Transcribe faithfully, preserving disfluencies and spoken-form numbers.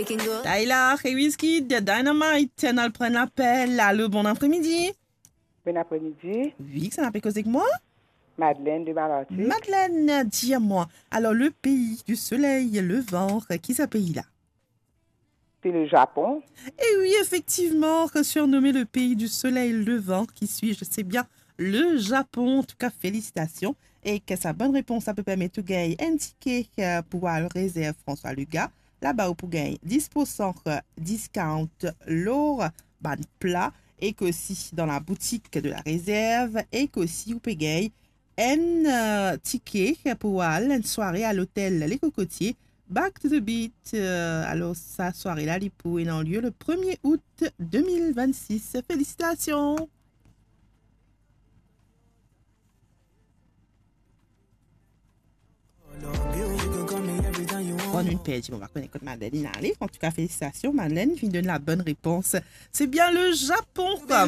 Tyla e Wizkid, Dynamite, nou al pran lapel. Alo, bon apremidi. Bon apremidi. Wi, kisannla pe koz ek mwa? Madeleine de Malartic. Madeleine, dis-moi, alors le pays du soleil levant, qui est ce pays-là? C'est le Japon. Et oui, effectivement, surnommé le pays du soleil levant, qui suis-je? C'est bien le Japon. En tout cas, félicitations. E ki sa bonn repons la pe permet ou gagn enn tike, euh, pou al rezerv François Luga. Laba ou pou gagn dis pour san discount lor bann pla, e ki osi dan la boutik de la Réserve, e ki osi ou pe gagn enn, euh, tike pou al enn sware a lotel Les Cocotiers, Back to the Beat. Euh, alors, sa sware la, li pou ena lye le premier août deux mille vingt-six. Félicitations. Bon, nou perdi, bon, nou va konn kot Madeleine ale. En tout cas, félicitations, Madeleine, finn donn la bonne réponse. C'est bien le Japon, quoi.